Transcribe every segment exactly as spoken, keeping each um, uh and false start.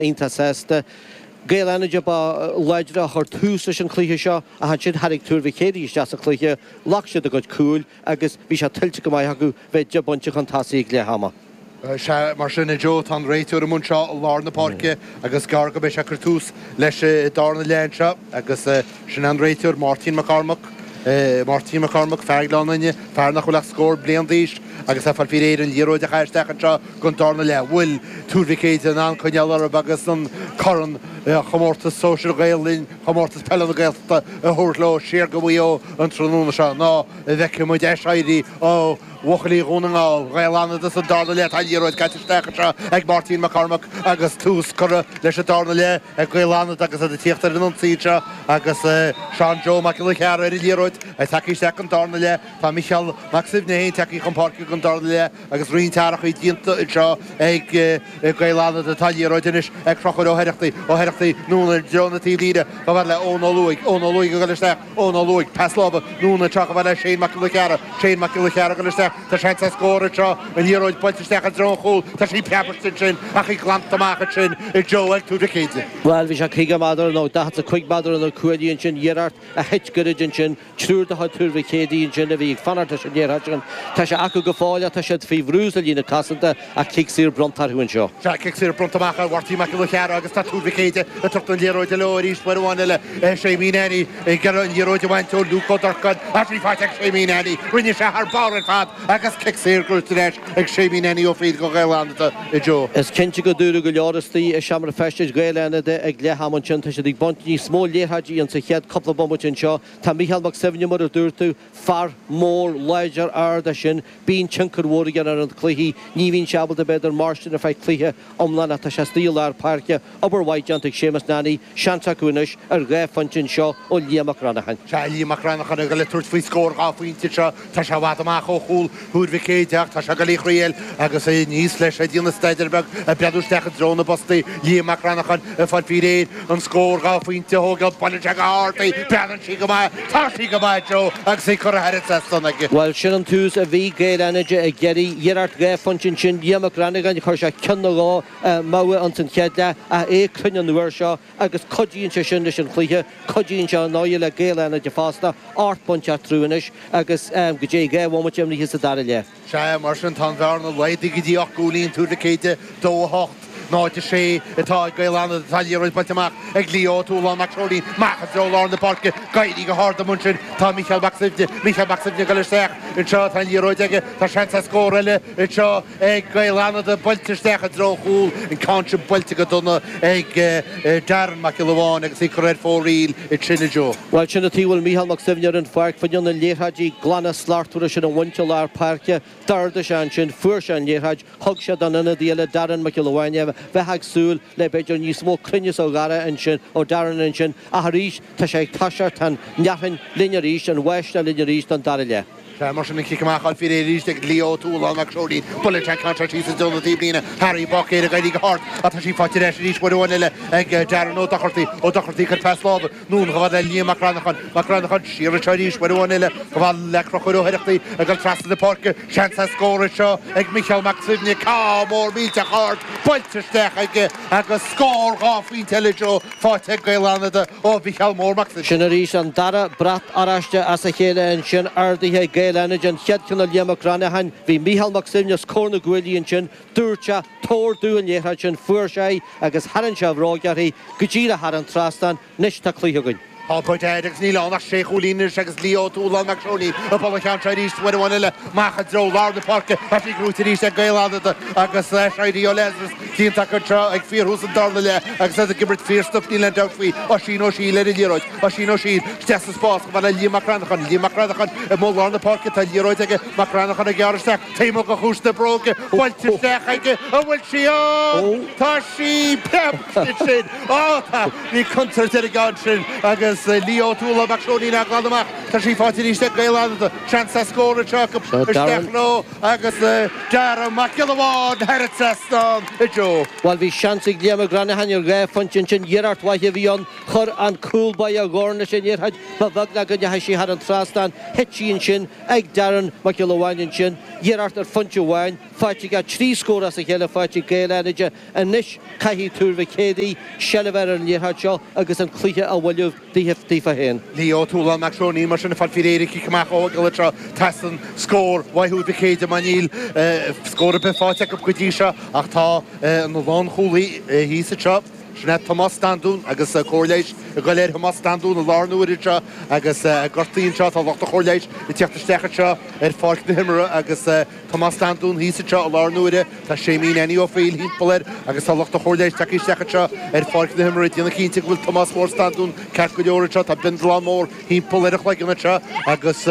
Iontach sásta. Gaeil Fhánada ba láidre a chuir tús leis an chluiche seo ach ansin tháinig Tuar Mhic Éadaigh isteach sa chluiche, ghlac siad a gcuid cúil agus bhí sé tuillte go maith acu bheith deich bpointe chun tosaigh ag leath ama. Sea, mar sin a Joe, tá an réiteoir amuigh anseo i lár na páirce agus gearr go mbeidh sé ag cur tús leis an darna leath anseo agus sin an réiteoir Máirtín Mac Cormaic. Máirtín Mac Cormaic, fear Ghleann Fhinne, fear nach bhfuil ach scór bliain d'aois agus é ag fáil faoi réir an liathróid a chaitheamh isteach anseo don darna leath. Bhfuil Tuar Mhic Éadaigh in ann coinneáil orthu agus an corn chomórtas sóisir Ghael Linn, chomórtas peile na Gaeltachta a thabhairt leo siar go Maigh Eo an tráthnóna seo nó an bhfeicfidh muid aiséirí ó bhuachaillí Dhún na nGall, Gaeil Fhánada sa darna leath. Tá an liathróid caite isteach anseo ag Máirtín Mac Cormaic agus tús curtha leis an darna leath ag Gaeil Fhánada agus iad ag tíocht ar an ionsaí anseo agus Seán Joe Mac Giolla Chearra ar an liathróid ag tagtha isteach don darna leath. Tá Micheál Mac Suibhne féin tagtha chun páirce don darna leath agus roinnt athrachaí déanta anseo ag Gaeil Fhánada. Tá an liathróid anois ag Conchúr Ó hOireachtaigh, Ó hOireachtaigh anonn i dtreo na taobhlíne chomh fada le Eoin Ó Lúaigh, Eoin Ó Lúaigh ag dul isteach, Eoin Ó Lúaigh, pas láimhe anonn anseo chomh fada le Shane Mac Giolla Chearra, Shane Mac Giolla Chearra ag dul isteach, tá seans ar scór anseo, an liathróid buailte isteach i dtreo an chúil, tá sí preabtha ansin ach í glanta amach ansin a Joe ag Tuar Mhic Éadaigh. Bhuel, bhí sé caoga méadar nó daichead is a cúig méadar ó na cuaillí ansin, iarracht a thit gairid ansin, triúr de chuid Tuar Mhic Éadaigh ansin a bhí ag fanacht leis an liathróid sin. Tá sé acu go fóill ach tá siad faoi bhrú sa líne cosanta ach cic saor bronnta orthu anseo. Sea, cic saor bronnta amach ar Mháirtín Mac Giolla Chearra agus tá Tuar Mhic Éadaigh ag tabhairt an liathróid leo arís uair amháin eile. Séimí Nanny ag iarraidh an liathróid a bhaint ó Luke Ó Durcáin ach í faighte ag Séimí Nanny. Rinne sé thar barr ar fad agus cic saor gnóthaithe ar ais ag Séimí Nanny Ó Frighil do Ghaeil Fhánada, a Joe. Is cinnte go dúradh go leor istigh i seomra feistis Ghaeil Fhánada ag leath ama ansin. Tá siad ag baint níos mó liathróidí insa chéad cúpla bomaite anseo. Tá Mícheál Mac Suibhne, mar a dúirt tú, fear mór láidir ard é sin. Bíonn tionchar mhór aige ar an chluiche. Ní bhíonn sé ábalta b'fhéidir mairstin ar feadh cluiche iomlán ach tá sé istigh i lár páirce. Obair mhaith déanta ag Séamus Nanny. Seans acu anois ar dhá phointe anseo ó Liam Mac Granacháin. Sea, Liam Mac Granacháin ag dul ag tabhairt faoi scór dhá phointe anseo. Tá sé i bhfad amach ó chúl Thuar Mhic Éadaigh ach tá sé ag dul í thriail agus é aníos leis ag déanamh staidéar beag ag breathnú isteach i dtreo na bpostaí. Liam Mac Granacháin ag fáil faoi réir an scór dhá phointe a thógáil. Buaileann sé go hard í. Breathnaíonn sí go maith. Tá sí go maith, Joe, agus í curtha thar an trasnán aige. Bhuel, sin an tús a bhí Gaeil Fhánada ag iarraidh. Iarracht dhá phointe ansin. Liam Mac Granacháin, chuir sé ceann nó dhó mogha ins an chéad leath ach é cruinn an uair seo agus cuidíonn sé sin leis an chluiche, cuidíonn sé ar ndóigh le Gaeil Fhánada fosta, ocht bpointe eatarthu anois agus go dté dhá bhomaite imithe sa dara leath. Sea, mar sin tá an bhearna laghdaithe go dtí ocht gcúilín, Tuar Mhic Éadaigh, dó a hocht, náid a sé atá ag Gaeil Fhánada. Tá an liathróid buailte amach ag Leo Ó Tualáin Mac Seoirlín, amach i dtreo lár na páirce, ag éirí go hard amuigh ansin tá Mícheál Mac Suibhne, Mícheál Mac Suibhne ag dul isteach anseo, tá an liathróid aige, tá seans ar scór eile anseo ag Gaeil Fhánada, buailte isteach i dtreo an chúil, an ceann sin buailte go dona ag Darren Mac Giolla Bháin agus í curtha ar fóraoil ansin a Joe. Bhuel, sin an tuige a bhfuil Mícheál Mac Suibhne ar an pháirc, fá choinne na liathróidí glana slachtmhara sin a bhaint i lár páirce. D'ardaigh sé ansin, fuair sé an liathróid, thug sé don ionadaí eile, Darren Mac Giolla Bháin é, bheifeá ag súil le b'fhéidir níos mó cruinneas ó Dhara ansin, ó Darren ansin, ach arís tá sé ag toiseacht, tá an fhearthainn linn arís, an bháisteach linn arís don dara leath. Sea, mar sin an cic amach á fháil faoi réir arís ag Leo Ó Tualáin Mac Seoirlín. Buaileann sé an ceann seo síos i dtreo na taobhlíne. Harry Báicéir ag éirí go hard ach tá sí faighte ar ais arís uair amháin eile ag Darren Ó Dochartaigh. Ó Dochartaigh ag cur pas láimhe anonn chomh fada le Liam Mac Granacháin. Mac Granacháin siar anseo arís uair amháin eile chomh fada le Conchúr Ó hOireachtaigh ag dul trasna na páirce. Seans ar scór anseo ag Micheál Mac Suibhne. Ceann mór millteach ard buailte isteach aige agus scór dhá phointe eile Joe faighte ag Gaeil Fhánada ó Mhicheál Mór Mac Suibhne. Sin arís an dara brat oráiste as a chéile ansin, ardaithe ag Gaeil Fhánada, an chéad cheann ó Liam Mac Granacháin. Bhí Micheál Mac Suibhne os comhair na gcuaillí ansin, dúirt sé, Tabhair domh an liathróid sin, fuair sé í agus tharraing sé a bhróg uirthi go díreach thar an trasnán. Anois tá cluiche againn. Tá go deimhin agus níl ann ach sé chúilín anois agus Leo Ó Tualáin Mac Seoirlín ag bualadh an cheann seo arís uair amháin eile amach i dtreo lár na páirce. Tá sí gnóthaithe arís ag Gaeil Fhánada agus aiséirí ó Lazarus déanta acu anseo ag fíorthús an darna leath agus iad ag imirt fíorstuif níl aon dabht faoi. Oisín Ó Siail ar an liathróid. Oisín Ó Siail isteach sa spás chomh fada le Liam Mac Granacháin. Liam Mac Granacháin i mbun lár na páirce. Tá an liathróid aige. Mac Granacháin ag gearradh isteach taobh amuigh de chuas na bróige. Buailte isteach aige. An bhfuil sí ann? Tá sí! Preab ansin. Á tá! Bhí contúirt ar an gceann sin agus Agus Leo Tuala Mac Seoinín á glanadh amach. Tá sí faighte arís ag Gaeil Fhánada. Seans ar scór anseo acu. Isteach leo agus Darragh Mac Giolla Bháin thar an trasnán a Joe. Bhuel bhí seans ag Liam Mac Granaghan ar dhá phointe ansin. Iarracht mhaith a bhí ann. Chuir an cúl báire a dhorn leis an liathróid. Ba bheag ná go ndeachaigh sí thar an trasnán. Thit sí ansin ag Darren Mac Giolla Bháin ansin. Iarracht ar phointe amháin faighte aige. Trí scór as a chéile faighte ag Gaeil Fhánada. Anois caithfidh Tuar Mhic Éadaigh seilbh ar an liathróid seo agus an cluiche a bhualadh daofa féin. Leo Tuala Mac Seoinín mar sin ag fáil faoi réir cic amach ó Giolla seo teastaíonn scór uaidh Thuar Mhic Éadaigh mar níl scór ar bith faighte acu go dtí seo ach tá an lánchúlaí thíos anseo. Sin é Tomás Standún agus cóir leighis ag goil ar Thomás Standún i láthair na huaire seo agus gortaithe anseo tá lucht an chóir leighis ag teacht isteach anseo ar pháirc na himeartha agus Tomás Standún thíos anseo i láthair na huaire tá Séimín Annie Ó Foighil thimpeall air agus tá lucht an chóir leighis tagtha isteach anseo ar pháirc na himeartha ag déanamh cinnte go bhfuil Tomás Mór Standún ceart go leor anseo tá bindealán mór thimpeall ar a chloigeann anseo agus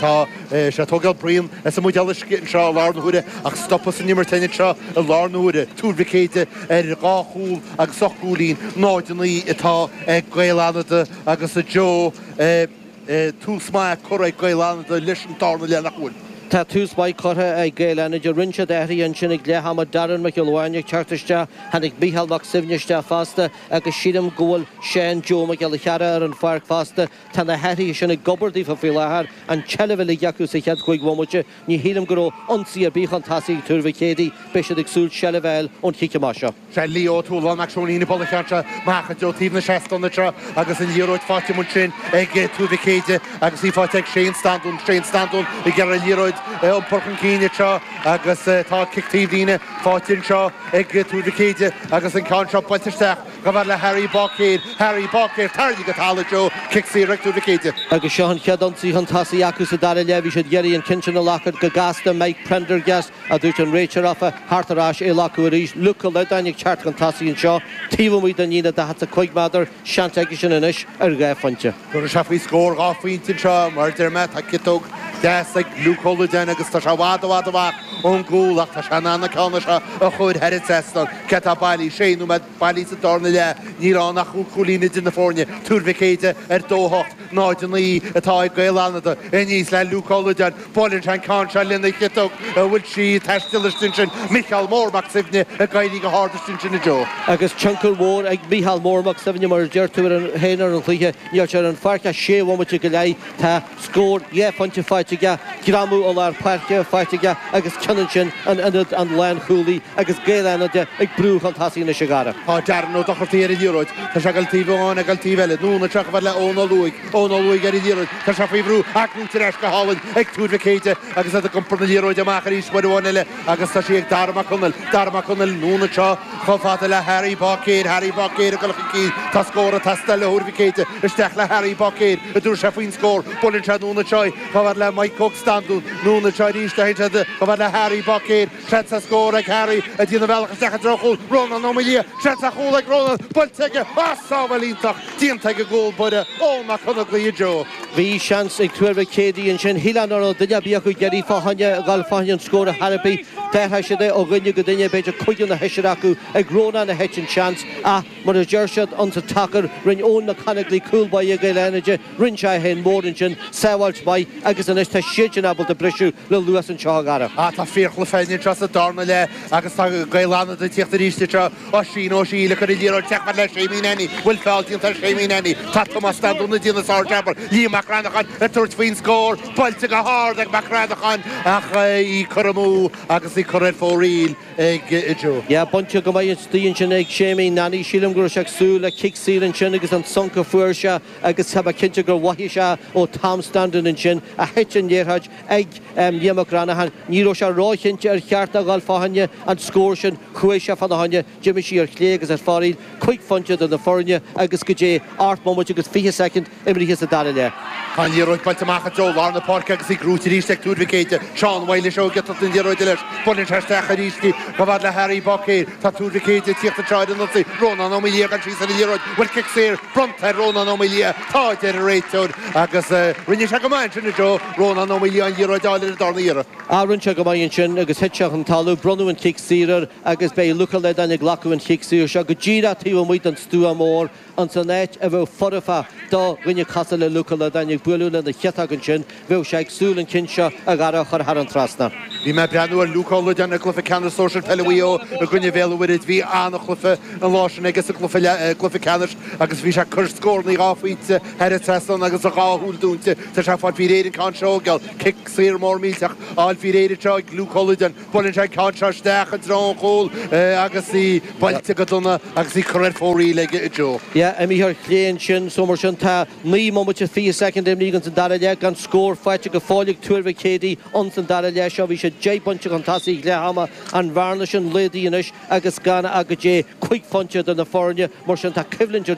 tá sé ag tógáil braon as an mbuidéal uisce anseo i láthair na huaire ach stopadh san imirt anseo i láthair na huaire Tuar Mhic Éadaigh ar dhá chúl agus ocht gcúilín náid a naoi atá ag Gaeil Fhánada agus a Joe tús maith curtha ag Gaeil Fhánada leis an darna leath nach bhfuil. Tá tús maith curtha ag Gaeil Fhánada rinne siad athruithe ansin ag leath ama Darren Mac Giolla Bháin ag teacht isteach tháinig Micheál Mac Suibhne isteach fosta agus sílim go bhfuil Seán Joe Mac Giolla Chearra ar an pháirc fosta tá na hathruithe sin ag obair daofa faoi láthair an tseilbh uilig acu sa chéad chúig bhomaite ní shílim go raibh ionsaí ar bith chun tosaigh ag Tuar Mhic Éadaigh beidh siad ag súil seilbh a fháil ón chic amach seo. Sé Leo Tuala Mac Seoinín ag bualadh an cheann seo amach i dtreo taobh na seastán anseo agus an liathróid faighte ansin ag Tuar Mhic Éadaigh agus í faighte ag Shane Standún Shane Standún ag iarraidh an liathróid iompar chun cinn anseo agus tá cic taobhlíne faighte anseo ag Tuar Mhic Éadaigh agus an ceann seo buailte isteach chomh fada le Harry Báicéir Harry Báicéir tarraingthe go talamh Joe cic saor ag Tuar Mhic Éadaigh. Agus seo an chéad ionsaí chun tosaigh acu sa dara leath bhí siad ag iarraidh an ceann sin a ghlacadh go gasta Mike Prendergast a dúirt an réiteoir leofa thart ar ais é a ghlacadh arís Luke Ó Loideáin ag teacht chun tosaigh anseo taobh amuigh den líne daichead is a cúig méadar seans aige sin anois ar dhá phointe. Tabharfaidh sé faoi scór dhá phointe anseo mar deir mé tá ciotóg deas ag Luke Ó Loideáin agus tá sé i bhfad i bhfad amach ón gcúl ach tá sé in ann an ceann seo a chur thar an trasnán cé tá bailí sé nóiméad bailí sa darna leath níl ann ach cúig chúilín idir na foirne Tuar Mhic Éadaigh ar dó hocht náid a naoi atá ag Gaeil Fhánada aníos le Luke Ó Loideáin buaileann sé an ceann seo lena chiotóg a bhfuil sí taisteal istigh sin Micheál Mór Mac Suibhne ag éirí go hard istigh sin a Joe. Agus tionchar mhór ag Micheál Mór Mac Suibhne mar a deir tú ar an féin ar an chluiche níl sé ar an pháirc ach sé bhomaite go leith tá scór dhá phointe faighte aige greamú i lár páirce faighte aige agus ceann ansin an ionad an lánchúlaí agus Gaeil Fhánada ag brú chun tosaigh anois a Dhara. Tá Darren Ó Dochartaí ar an liathróid Tá sé ag taobh amháin ag taobh eile anonn anseo chomh fada le Eoin Ó Lúaigh Eoin Ó Lúaigh ar an liathróid Tá sé faoi bhrú ach gnóthaithe ar ais go hálainn ag Tuar Mhic Éadaigh agus iad ag iompar na liathróide amach arís uair amháin eile agus tá sí ag Dara Mac Conaill Dara Mac Conaill anonn anseo chomh fada le Harry Báicéir Harry Báicéir ag dul chun cinn Tá scór ag teastáil ó Thuar Mhic Éadaigh isteach le Harry Báicéir a dúirt sé faoin scór buaileann sé anonn anseo chomh fada le Mike Óg Standún anonn anseo arís le chomh fada le Harry Báicéir seans ar scór ag Harry a déanamh bealach isteach i dtreo chúl Rónán Ó Maoildhia seans ar chúl ag Rónán buailte aige as sábháil iontach déanta ag an gcúl báire Eoin Mac Conaglaí Joe. Bhí seans ag Tuar Mhic Éadaigh ansin shíl an raibh duine ar bith acu ag iarraidh fá choinne dul fá choinne an scór a tharraingt D'athraigh siad é ó dhuine go duine b'fhéidir cúigear nó seisear acu ag Rónán a thit an seans ach mar a deir siad ansa tacar rinne Eoin Mac Conaglaí cúl báire Gaeil Fhánada rinne sé féin mór ansin sábháilt mhaith agus anois tá siad sin ábalta briseadh le luas anseo a Dhara. Ah tá fíorchluiche anseo sa darna leath agus tá Gaeil Fhánada ag tíocht arís anseo Oisín Ó Siadhail ag cur an liathróid isteach le Séimín Annie bhfuil feall déanta ar Séimín Annie Tá Tomás Standún ag déanamh sár-jab Liam Mac Cranacháin ag tabhairt faoin scór buailte go hard ag Mac Cranacháin ach í curtha amú agus í curtha ar fóraoil ag Joe. Ja bainte go maith istigh ansin ag Séimín Nanny sílim go raibh sé ag súil le cic saor ansin agus an sonc a fuair sé agus tá cinnte gur mhothaigh sé ó Tom Standún ansin a thit an liathróid ag Liam Mac Cranacháin ní raibh sé róchinnte ar cheart a dhul fá choinne an scór sin chuaigh sé fána choinne d'imigh sí ar chlé agus ar fóraoil cúig phointe do na foirne agus go dtí ocht mbomaite agus fiche soicind imeartha sa dara leath. Tá an liathróid buailte amach i dtreo lár na páirce agus í gnóthaithe arís ag Tuar Mhic Éadaigh Seán Mhaoilis ó giotat an liathróid leis Buaileann sé isteach arís í chomh fada le Harry Bocéir. Tá Tuar Mhic Éadaigh ag tíocht anseo ar an ionsaí. Rónán Ó Maoildhia ag dul síos ar an liathróid. Bhfuil cic saor bronnta ar Rónán Ó Maoildhia? Tá, a deir an réiteoir agus rinne sé go maith ansin a Joe. Rónán Ó Maoildhia an liathróid a fháil ar an darna iarraidh. Ah rinne sé go maith ansin agus thit sé chun talamh, bronnadh an chic saor air agus beidh Luke Ó Loideáin ag glacadh an chic saor seo go díreach taobh amuigh den stua mór ins an áit a bheadh foirfe do dhuine cosúil le Luke Ó Loideáin ag bualadh lena chiotóg ansin, bheadh sé ag súil an ceann seo a Dhara a chur thar an trasnán. Bhí mé ag breathnú ar Luke Ó Loideáin i gcluiche ceannais sóisir peile Mhaigh Eo i gcoinne Bhéal an Mhuirthead. Bhí an-chluiche an lá sin aige sa gcluiche ceannais agus bhí sé ag cur scóranna dhá phointe thar an trasnán agus a dhá shúil dúnta. Tá sé ag fáil faoi réir an ceann seo, geall. Cic saor mór millteach á fháil faoi réir anseo ag Luke Ó Loideáin. Buaileann sé an ceann seo isteach i dtreo an chúil agus í buailte go dona agus í curtha ar fóraoil ag Joe. Yeah, imithe ar chlé ansin, so mar sin tá naoi mbomaite fiche soicind imithe ins an dara leath gan scór faighte go fóill ag Tuar Mhic Éadaigh ins an dara leath seo. Bhí siad deich bpointe chun tosaigh ag leath ama, an bhearna sin laghdaithe anois agus gan ach go dté cúig phointe idir na foirne, mar sin tá coimhlint ar